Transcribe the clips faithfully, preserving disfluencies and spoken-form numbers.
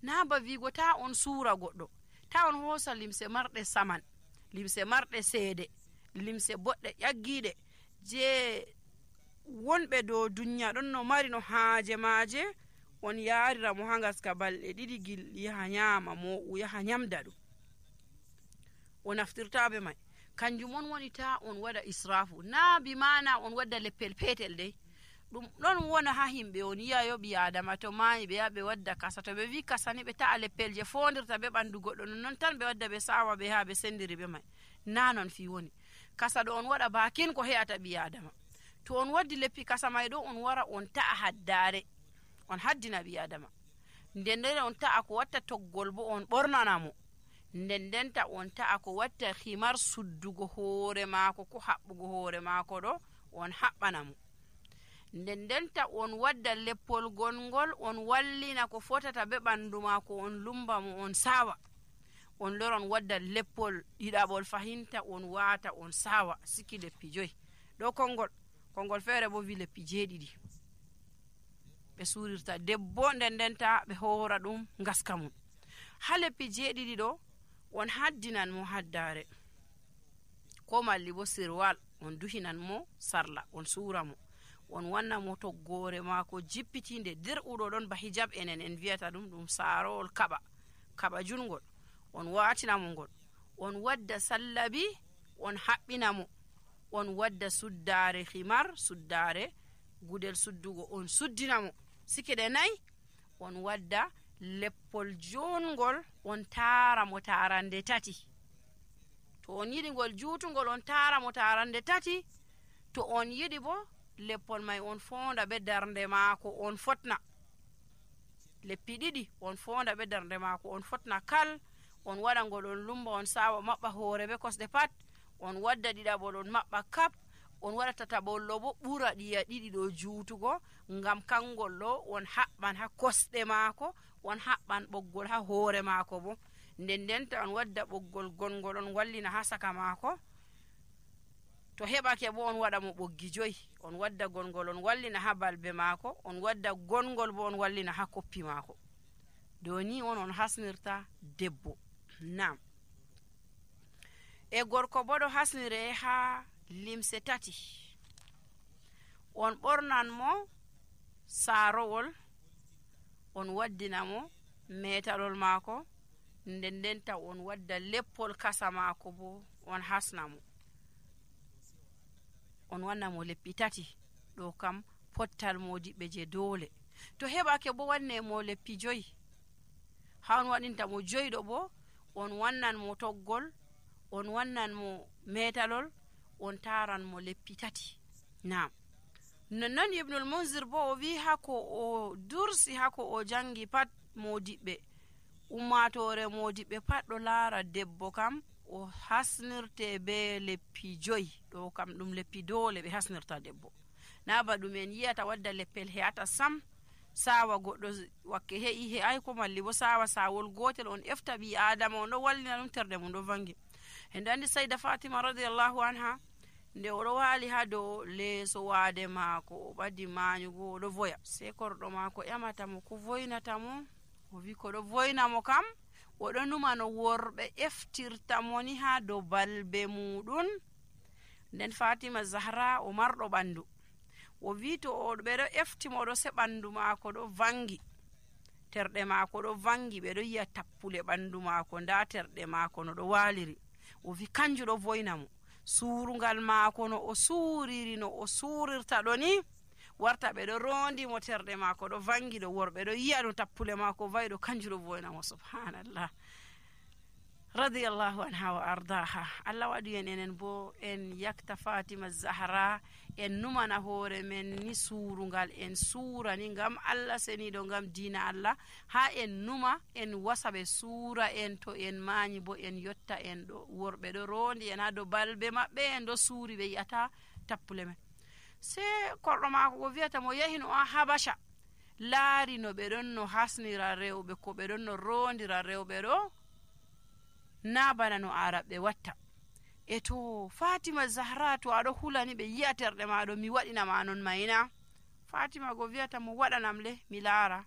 na ba wigo ta on suura goɗɗo, ta on hoosa limse marɗe saman, limse marɗe seede, limse boɗɗe ƴaggiiɗe je wonɓe dow duniya ɗon no mari no haaje maaje, on yaarira mo ha ngaska balɗe ɗiɗi gil yaha nyaama mo yaha nyamda ɗum, o naftirta be mai. Kanjum on woni ta on waɗa israfu, na bi mana on wadda leppel petel dai. Ɗum ɗon wona ha himɓe on yi'ayo ɓi adama to maayi ɓe yaha ɓe wadda kasa, to ɓe wi kasa ni ɓe ta'a leppel je fondirta be ɓandu goɗɗo, non tan ɓe wadda ɓe sawa ɓe ha ɓe sendiri be mai. Na non fi woni. Kasa ɗo on waɗa bakin ko he'ata ɓi adama. To on waddi leppi kasa mai ɗo on wara on ta'a haddare, on haddina ɓi adama. Nden nden on ta'a ko watta toggol bo on ɓornana mo. Nden ndenta on ta'a ko watta himar suddugo hoore maako ko haɓɓugo hoore maako ɗo on haɓɓana mo. Nden ndenta on wadda leppol gongol on wallina ko fotata be ɓandu maako, on lumba mo on sawa. On loron wadda leppol ɗiɗaɓol fahinta on waata on sawa, siki leppi joyi. Ɗo kongol, kongol feere bo wi leppi jeeɗiɗi ɓe suurirta debbo, nden ndenta ɓe hoora ɗum ngaska mum. Ha leppi jeeɗiɗi ɗo on haddinan mo haddare, ko malli bo sirwal, on duhinan mo sarla, on suura mo, on wanna mo toggore maako jippitinde dir'uɗo ɗon ba hijab enen en viyata ɗum, ɗum saarowol kaɓa kaɓa jungol, on waatina mo ngol, on wadda sallabi, on haɓɓina mo, on wadda suddare himar, suddare gudel suddugo, on suddina mo sikide nayi, on wadda leppol jongol, on taara mo tarande tati. To on yiɗi ngol juutungol on taara mo tarande tati. To on yiɗi bo leppol mai on fonda be darnde maako on fotna, leppi ɗiɗi on fonda be darnde maako on fotna kal, on waɗa ngol on lumba on sawa maɓɓa hoore be kosɗe pat, on wadda ɗiɗaɓol on maɓɓa kap, on waɗa tataɓollo bo ɓura ɗiya ɗiɗi ɗo juutugo, ngam kangol ɗo on haɓɓan ha kosɗe maako, on haɓɓan ɓoggol ha hoore maako bo. Nden ndenta on wadda ɓoggol gongol on wallina ha saka maako. To heɓake bo on waɗa mo ɓoggi joyi, on wadda gongol on wallina ha balbe maako, on wadda gongol bo on wallina ha koppi maako. Do ni on on hasnirta debbo. Nam. E gorko bo ɗo hasnire ha limse tati. On ɓornan mo saarowol, on waddina mo metalol maako, nden ndenta on wadda leppol kasa maako bo on hasna mo, on wanna mo leppi tati. Ɗo kam pottal modiɓɓe je dole. To heɓake bo wanne mo leppi joyi, ha on waɗinta mo joyi ɗo bo on wannan mo toggol, on wannan mo metalol, on taran mo leppi tati. Naam. Nonnon Ibnul Munzir bo o wi hako o dursi, hako o jangi pat modiɓɓe, ummatore modiɓɓe pat ɗo laara debbo kam o hasnirte be leppi joyi. Ɗo kam ɗum leppi dole ɓe hasnirta debbo. Na ba ɗum en yiyata wadda leppel he'ata sam, sawa goɗɗo wakke he'i he'ai, ko malli bo sawa sawol gotel on efta ɓi adama on ɗo wallina ɗum terde mum ɗo vangi. En andi Sayda Fatima radiyallahu anha, nde oɗo waali ha dow leeso waade maako, o ɓadi maanyugo, oɗo voya, sei korɗo maako ƴamata mo ko voynata mo. O wi ko ɗo voyna mo kam, oɗo numa no worɓe eftirta mo ni ha dow balbe muɗum. Nden Fatima Zahra o marɗo ɓandu, o wi to o ɓeɗo efti mo ɗo se ɓandu maako ɗo vangi, terɗe maako ɗo vangi, ɓeɗo yi'a tappule ɓandu maako, nda terɗe maako no ɗo waliri. O wi kanju ɗo voyna mo. Suurungal maako no o suuriri, no o suurirta ɗo ni, warta ɓeɗo rondi mo terɗe maako ɗo vangi ɗo, worɓe ɗo yi'a no tappule maako vayi ɗo, kanju ɗo voyna mo. Subhanallah. Radiyallahu anha wa ardaha. Allah waɗi en enen bo en yakta Fatima Zahra, en numana hoore men ni suurungal, en suura ni ngam Allah seniɗo, ngam diina Allah, ha en numa en wasa ɓe suura en. To en mañi bo en yotta en ɗo, worɓe ɗo rondi en ha dow balbe maɓɓe, en ɗo suuri, ɓe yi'ata tappule men. Se korɗo maako ko wiyata mo yahi no a Habasha, laari no ɓe ɗon no hasnira rewɓe, ko ɓe ɗon no rondira rewɓe ɗo, na bana no araɓe watta. E to Fatima Zahra, to aɗo hulani ɓe yi'a terɗe maɗo, mi waɗinama non mayna. Fatima go wiyata mo waɗanam le mi laara.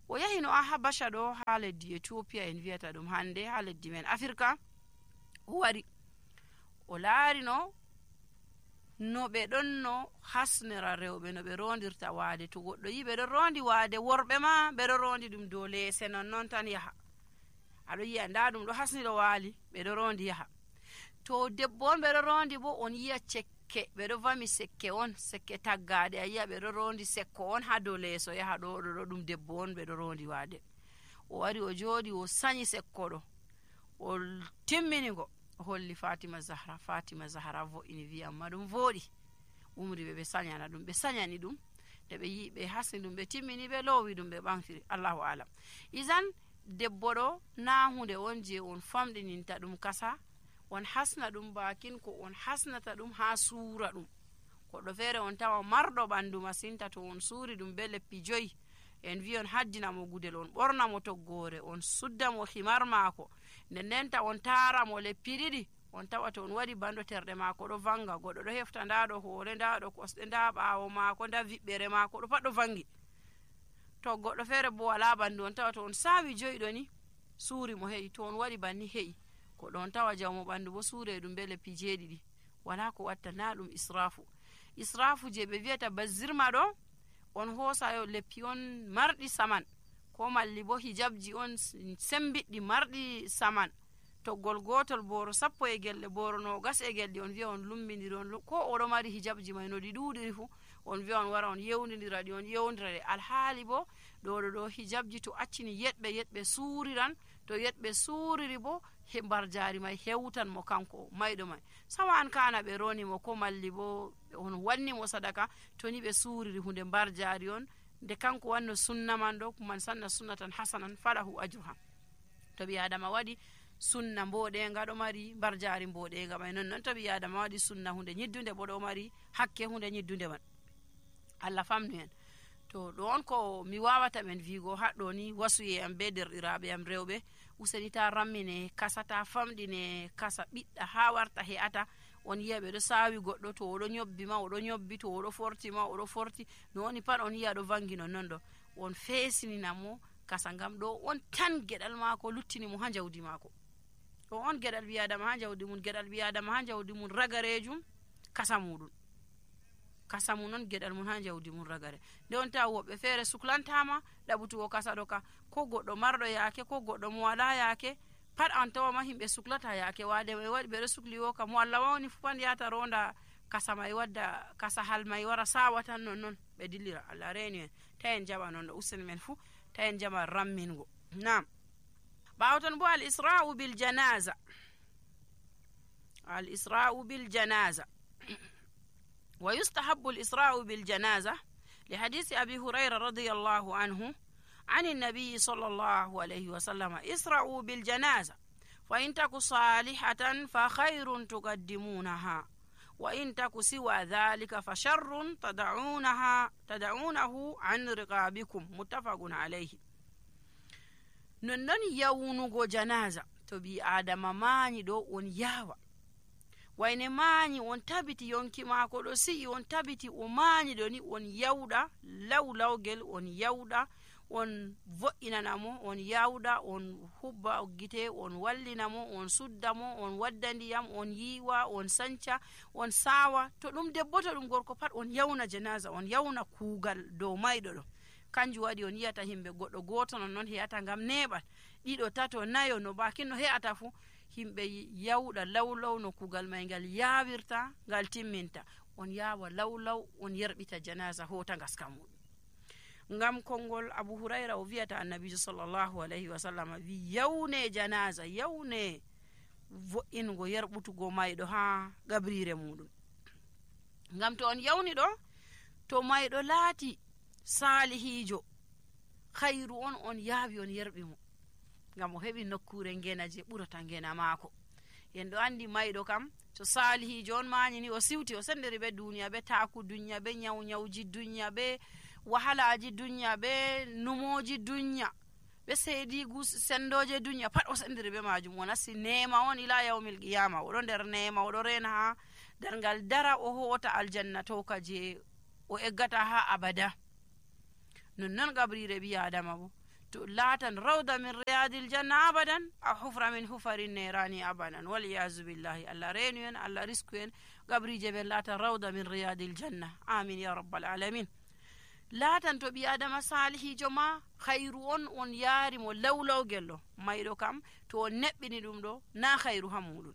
o yahi no a habasha ɗo ha leddi Ethiopia en wiyata ɗum hande ha leddi men Afrika. o wari o laari no no ɓe ɗon no hasnira rewɓe no ɓe rondirta waade. To goɗɗo yi ɓe ɗon rondi waade, worɓe ma ɓe ɗon rondi ɗum dow leese non non tan yaha. aɗo yiya nda ɗum ɗo hasniɗo waali ɓe ɗo rondi yaha. To debbo on ɓe ɗo rondi bo on yiya cekke ɓe ɗo vami sekke on, sekke taggade, a yiya ɓe ɗo rondi sekko on ha dow leeso yaha ɗo ɗo ɗo ɗum debbo on ɓe ɗo rondi waade. o wari o jooɗi o sanyi sekko ɗo o timminigo o holli Fatima Zahra. Fatima Zahra vo'ini wi amma ɗum vooɗi, umri ɓe ɓe sanyana ɗum. ɓe sanyani ɗum nde ɓe yi ɓe hasni ɗum ɓe timmini ɓe loowi ɗum ɓe ɓamtiri. Allahu alam. isan debbo ɗo na hunde on je on famɗininta ɗum kasa, on hasna ɗum bakin ko on hasnata ɗum ha suura ɗum. goɗɗo feere on tawa marɗo ɓandu masinta, to on suuri ɗum be leppi joyi en wi on haddina mo gudel, on ɓorna mo toggore, on sudda mo himar maako, nden ndenta on taara mo leppi ɗiɗi, on tawa to on waɗi bando terɗe maako ɗo vanga. goɗɗo ɗo hefta nda ɗo hoore, nda ɗo kosɗe, nda ɓaawo maako, nda viɓɓere maako ɗo pat ɗo vangi. to goɗɗo feere bo wala bandu, on tawa to on saawi joyi ɗo ni suuri mo heƴi, to on waɗi banni heƴi. goɗɗo on tawa jawmo ɓandu bo suure ɗum be leppi jeeɗiɗi. wala ko watta, na ɗum israfu. israfu je ɓe wiyata bazirma ɗo, on hoosayo leppi on marɗi saman, ko malli bo hijabji on sembiɗɗi marɗi saman, toggol gotol boro sappo e gelle, boro nogas e gelɗi, on wiya on lumbidiri on, ko oɗo mari hijabji may no ɗi ɗuɗiri fu on wiya on wara on yewnidira ɗi, on yewndira ɗe. alhaali bo ɗo ɗo ɗo hijabji to accini yeɗɓe yeɗɓe suuriran, to yeɗɓe suuriri bo he mbar jaari may hewtan mo kanko mayɗo may. sawa an kana ɓe roni mo, ko malli bo on wanni mo sadaka, to ni ɓe suuriri hunde mbar jaari on, nde kanko wanno sunna man ɗo, man sanna sunnatan hasanan falahu ajruha. to ɓi adama waɗi sunna mboɗenga ɗo mari mbar jaari mboɗenga may, non non to ɓi adama waɗi sunna hunde ñiddunde bo ɗo mari hakke hunde ñiddunde man. Allah famnu en. to ɗo on ko mi wawata men wigo haɗɗo ni wasuye am be derɗiraɓe am rewɓe, useni ta rammine kasa, ta famɗine kasa, ɓiɗɗa ha warta he'ata. on yiya ɓe ɗo saawi goɗɗo, to oɗo ñobbi ma oɗo ñobbi, to oɗo forti ma oɗo forti, no woni pat on yiya ɗo vangi non non ɗo. on feesinina mo kasa, ngam ɗo on tan geɗal maako luttini mo ha jawdi maako. ɗo on geɗal ɓi adama ha jawdi mum, geɗal ɓi adama ha jawdi mum ragarejum kasa muɗum, kasa mum non geɗal mum ha jawdi mum ragare. nde on tawa woɓɓe feere suklantama ɗaɓutugo kasa ɗo ka, ko goɗɗo marɗo yaake, ko goɗɗo mo wala yaake, pat an tawama himɓe suklata yaake waade may waɗi ɓeɗo sukli wo ka, mo Allah wawni fu pat yata ronda kasa may, wadda kasa hal may wara sawa tan non non ɓe dillira. Allah reeni en, ta en jaɓa non ɗo, useni men fu ta en jaɓa rammingo. nam ɓawo ton bo al isra'u bil janaza, al isra'u bil janaza ويستحب الإسراء بالجنازة لحديث أبي هريرة رضي الله عنه عن النبي صلى الله عليه وسلم: اسرعوا بالجنازة فإن تك صالحة فخير تقدمونها وإن تك سوى ذلك فشر تدعونها تدعونه عن رقابكم. متفق عليه. ننن يونغو جنازة تبي آدم ماني دو on yawa wayne mañi on tabiti yonki maako ɗo si'i, on tabiti o mañi ɗo ni, on yawɗa law lawgel, on yawɗa on vo'inana mo, on yawɗa on hubba gite, on wallina mo, on sudda mo, on wadda ndiyam, on yiwa, on sanca, on sawa. to ɗum debbo to ɗum gorko pat on yawna janaza, on yawna kuugal dow mayɗo ɗo. kanjum waɗi on yiyata himɓe goɗɗo goto non non he'ata, ngam neɓal ɗiɗo tato nayo no bakin no he'ata fu, himɓe yawɗa lawlaw no kugal may ngal yawirta, ngal timminta. on yawa lawlaw on yerɓita janaza hota ngaska muɗum. ngam konngol Abu Hurayra o wiyata annabijo sallallahu alayhi wa sallam wi yawne janaza, yawne vo'ingo yerɓutugo mayɗo ha gabrire muɗum. ngam to on yawni ɗo, to mayɗo laati salihijo, khayru on on yaawi on yerɓi mo, ngam o heɓi nokkure ngena je ɓurata ngena maako. en ɗo andi mayɗo kam to salihijo on mañi ni, o siwti, o sendiri be duniya, be taku duniya, be nyaw nyawji duniya, be wahalaji duniya, be numoji duniya, be seedigu sendoje duniya, pat o sendiri be majum. o nasti nema on ila yawmil qiyama, oɗo nder nema, oɗo rena ha darngal dara, o hoota aljanna toka je o eggata ha abada. nonnon gabrire ɓi adama bo, to laatan rawda min riyadil janna abadan a hufra min hufari nerani abadan waliyasu billahi. Allah reenu en, Allah risku en gabrije ɓen laatan rawda min riyadil janna, amin ya rabbal alamin. laatan to ɓi adama salihijo ma hayru on on yaarimo lawlawgel ɗo mayɗo kam to on neɓɓini ɗum ɗo na hayru ha muɗum,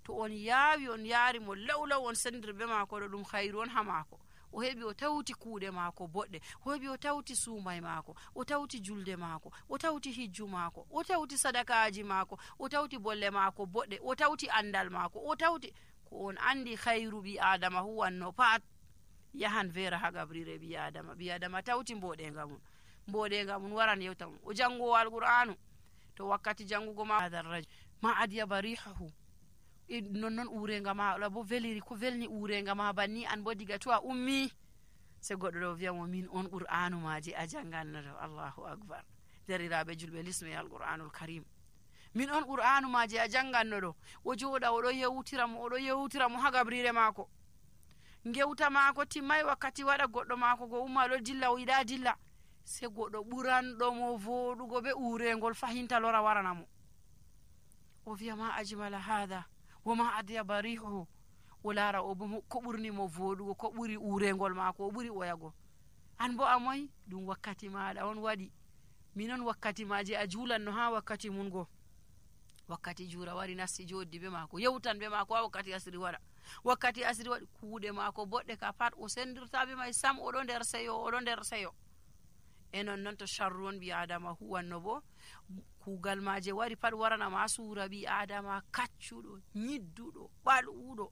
to on yaawi on yaarimo lawlaw on sendir be maako ɗo ɗum hayru on ha maako. o heɓi o tawti kuuɗe maako boɗɗe, o heɓi o tawti suumay maako, o tawti julde maako, o tawti hijju maako, o tawti sadakaji maako, o tawti bolle maako boɗɗe, o tawti andal maako, o tawti ko on andi hayru ɓi adama huwanno pat yahan vera ha gabrire ɓi adama. ɓi adama tawti mboɗenga mum, mboɗenga mum waran yewta mum. o jangowo alqur'anu to wakkati jangugo ma hadarraji ma adyaba rihahu, nonnon urenga ma ɗo bo veliri ko velni urenga ma banni an bo diga to a ummi se goɗɗo ɗo wiyamo min on qur'anu maji a jangannoto. Allahu akbar. deriraɓe julɓe lismi alqur'anul karim, min on qur'anu maji a jangannoɗo. o jooɗa oɗo yewtiramo oɗo yewtiramo ha gabrire maako, gewta maako timmay wakkati waɗa goɗɗo maako go umma ɗo dilla o yiɗa dilla, se goɗɗo ɓuranɗomo voɗugo be urengol fahinta lora waranamo. o wiya ma ajmala hada woma adyaba rihuhu, o laara o bo ko ɓurnimo voɗugo, ko ɓuri urengol maako, o ɓuri oyago. an bo a moyi ɗum wakkati maɗa on waɗi, minon wakkati maji a julanno ha wakkati mun go. wakkati jura wari nasti joddi be maako, yewtan be maako ha wakkati asiri waɗa. wakkati asiri waɗi kuuɗe maako boɗɗe ka pat o sendirta be may sam, oɗo nder seyo, oɗo nder seyo. e non noon to sharru on ɓi adama huwanno bo kuugal maje wari pat waranama suura ɓi adama kaccuɗo, ñidduɗo, ɓal'uɗo.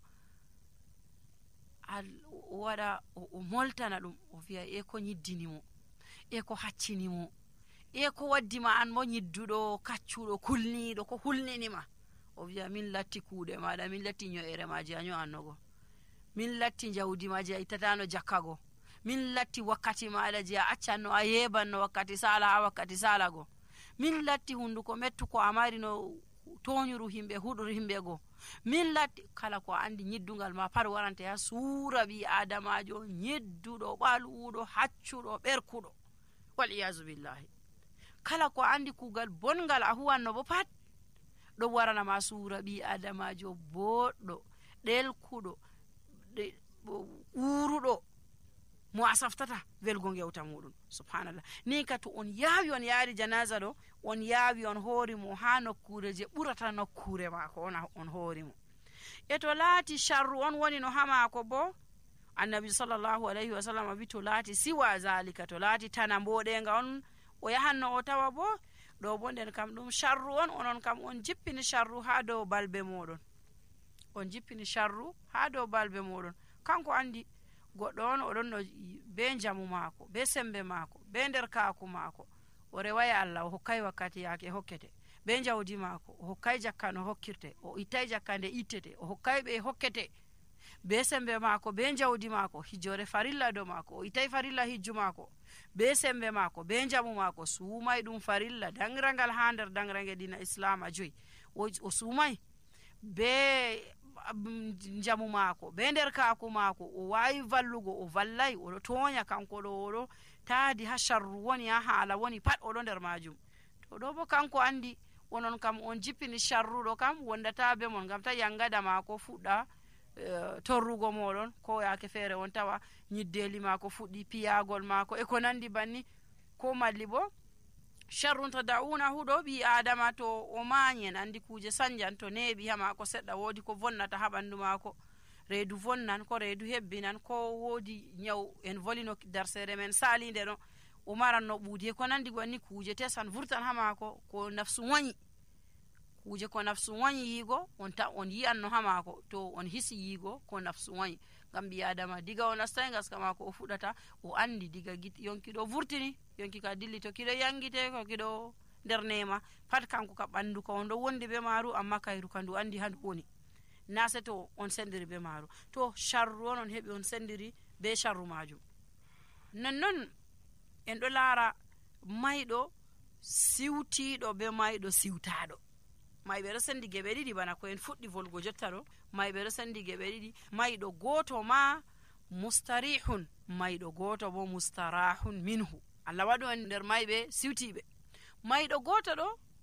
o waɗa o moltana ɗum, o wiya e ko ñiddinimo, e ko haccinimo, e ko waddima an mo ñidduɗo, kaccuɗo, kulniɗo, ko hulninima. o wiya min latti kuuɗe maɗa, min latti ño'ere maji a ño'annogo, min latti jawdi maji a ittatano jakkago, min latti wakkati maɗa je a accanno a yebanno wakkati sala ha wakkati salago, min latti hunduko mettuko a mari no toñuru himɓe huɗor himɓe go, min latti kala ko andi ñiddugal ma pat warante ha suura ɓi adamajo ñidduɗo, ɓal'uɗo, haccuɗo, ɓerkuɗo, wal iyasu billahi. kala ko andi kuugal bongal a huwanno bo pat ɗo waranama suura ɓi adamajo boɗɗo, ɗelkuɗo, uruɗo, mo a saftata welgo gewta muɗum. subhanallah. ni ka to on yaawi on yaari janaza ɗo, on yaawi on hoorimo ha nokkure je ɓurata nokkure maako on, on hoorimo. e to laati sharru on woni no ha maako bo, annabi sallllahu alayhi wa sallam wi to laati siwa zalika, to laati tana mboɗenga on o yahanno o tawa bo ɗo bo nden kam ɗum sharru on, onon kam on jippini sharru ha dow balbe moɗon, on jippini sharru ha dow balbe moɗon. kanko andi goɗɗo on oɗon no be jamu maako, be sembe maako, be nder kaaku maako, o reway Allah, o hokkay wakkati yaake hokkete, be jawdi maako, o hokkay jakka no hokkirte, o ittay jakka nde ittete, o hokkay ɓe hokkete, be sembe maako, be jawdi maako, hijjore farilla do maako, o ittay farilla hijju maako, be sembe maako, be jamu maako, suumay ɗum farilla dangrangal ha nder dangrange dina islama joyi, o suumay be jamu maako, be nder kaaku maako, o wawi vallugo, o vallay, oɗo toña kanko ɗo, oɗo taadi ha sharru woni, ha haala woni pat oɗo nder majum. to ɗo bo kanko andi onon kam on jippini sharruɗo kam wondata be mon, gam ta yangada maako fuɗɗa uh, torrugo moɗon, ko yaake feere on tawa ñiddeli maako fuɗɗi piyagol maako e ko nandi banni, ko malli bo sharrun tada'unahu ɗo ɓi adama to o mañen andi kuje sanjan to neeɓi ha maako seɗɗa, woodi ko vonnata ha ɓandu maako, reedu vonnan, ko reedu hebbinan, ko woodi ñaw en volino darsere men salinde ɗo, o maranno ɓuudi e ko nandi banni, kuje tesan vurtan ha maako, ko nafsu wañi, kuje ko nafsu wañi yiigo on ta on yi'anno ha maako, to on hisi yiigo ko nafsu wañi. ngam ɓi adama diga o nastay gaska maako o fuɗata, o andi diga yonki ɗo vurtini, yonki ka dilli to kiɗo yangite, ko kiɗo nder nema pat, kanko ka ɓandu ka on ɗo wondi be maaru, amma kayru ka ndu andi ha ndu woni, na se to on sendiri be maaru. to sharru on on heɓi on sendiri be sharru majum. nonnon en ɗo laara mayɗo siwtiɗo be mayɗo siwtaɗo. mayɓe ɗo sendi geɓe ɗiɗi bana ko en fuɗɗi volgo jotta ɗo, mayɓe ɗo sendi geɓe ɗiɗi, mayɗo goto ma mustarihun, mayɗo goto bo mustarahun minhu. Allah waɗu en nder mayɓe siwtiɓe. mayɗo goto ɗo